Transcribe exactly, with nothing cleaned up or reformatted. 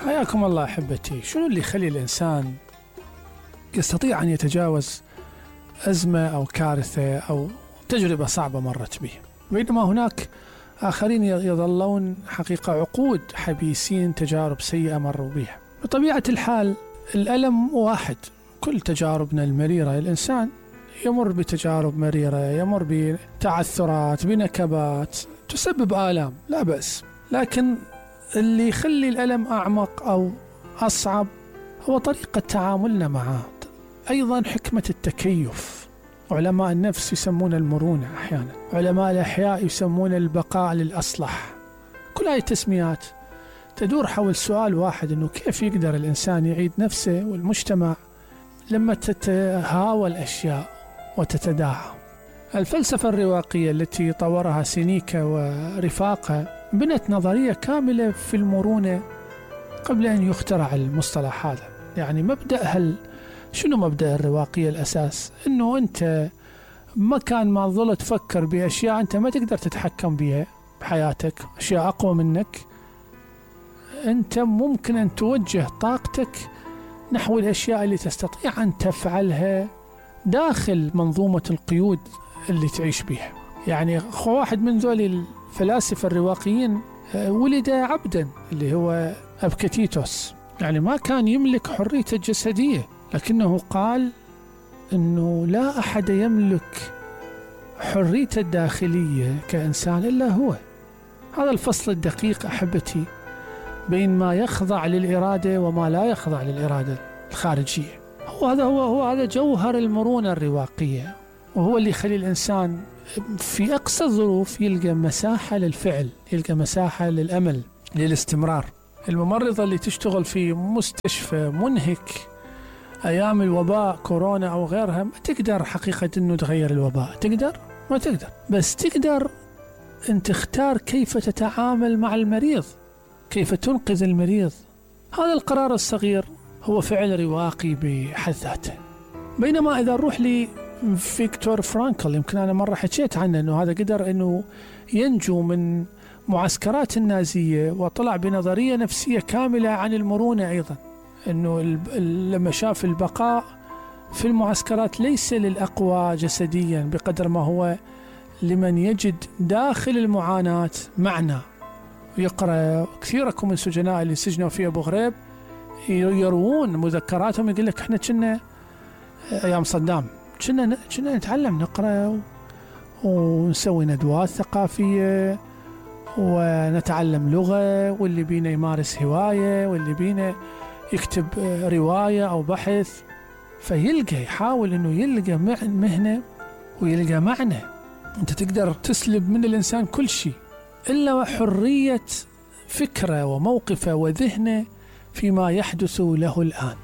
حياكم الله أحبتي. شنو اللي يخلي الإنسان يستطيع أن يتجاوز أزمة أو كارثة أو تجربة صعبة مرت به، بينما هناك آخرين يظلون حقيقة عقود حبيسين تجارب سيئة مروا بها؟ بطبيعة الحال الألم واحد، كل تجاربنا المريرة الإنسان يمر بتجارب مريرة، يمر بتعثرات، بنكبات تسبب آلام، لا بأس. لكن اللي يخلي الألم أعمق أو أصعب هو طريقة تعاملنا معه، أيضا حكمة التكيف. علماء النفس يسمون المرونة، أحيانا علماء الأحياء يسمون البقاء للأصلح. كل هاي التسميات تدور حول سؤال واحد، أنه كيف يقدر الإنسان يعيد نفسه والمجتمع لما تتهاوى الأشياء وتتداعى. الفلسفة الرواقية التي طورها سينيكا ورفاقه بنت نظرية كاملة في المرونة قبل أن يخترع المصطلح هذا. يعني مبدأ هل شنو مبدأ الرواقية الأساس؟ أنه أنت مكان ما ظل تفكر بأشياء أنت ما تقدر تتحكم بها بحياتك، أشياء أقوى منك، أنت ممكن أن توجه طاقتك نحو الأشياء اللي تستطيع أن تفعلها داخل منظومة القيود اللي تعيش بها. يعني واحد من ذول الفلاسفة الرواقيين ولد عبدا اللي هو أبكتيتوس، يعني ما كان يملك حريته الجسدية، لكنه قال أنه لا أحد يملك حريته الداخلية كإنسان إلا هو. هذا الفصل الدقيق أحبتي بين ما يخضع للإرادة وما لا يخضع للإرادة الخارجية، هو هذا هو هو هذا جوهر المرونة الرواقية، وهو اللي يخلي الإنسان في أقصى الظروف يلقى مساحة للفعل، يلقى مساحة للأمل، للاستمرار. الممرضة اللي تشتغل في مستشفى منهك أيام الوباء كورونا أو غيرها ما تقدر حقيقة أنه تغير الوباء، تقدر؟ ما تقدر، بس تقدر أن تختار كيف تتعامل مع المريض، كيف تنقذ المريض. هذا القرار الصغير هو فعل رواقي بحد ذاته. بينما إذا نروح لي فيكتور فرانكل، يمكن أنا مرة حكيت عنه، أنه هذا قدر أنه ينجو من معسكرات النازية وطلع بنظرية نفسية كاملة عن المرونة أيضا، أنه لما شاف البقاء في المعسكرات ليس للأقوى جسديا بقدر ما هو لمن يجد داخل المعاناة معنى. يقرأ كثيركم من سجناء اللي سجنوا في أبو غريب يروون مذكراتهم، يقول لك احنا كنا أيام صدام كنا كنا نتعلم نقرأ ونسوي ندوات ثقافية ونتعلم لغة، واللي بينا يمارس هواية، واللي بينا يكتب رواية أو بحث، فيلقى يحاول أنه يلقى مهنة ويلقى معنى. أنت تقدر تسلب من الإنسان كل شيء إلا حرية فكرة وموقفه وذهنه فيما يحدث له الآن.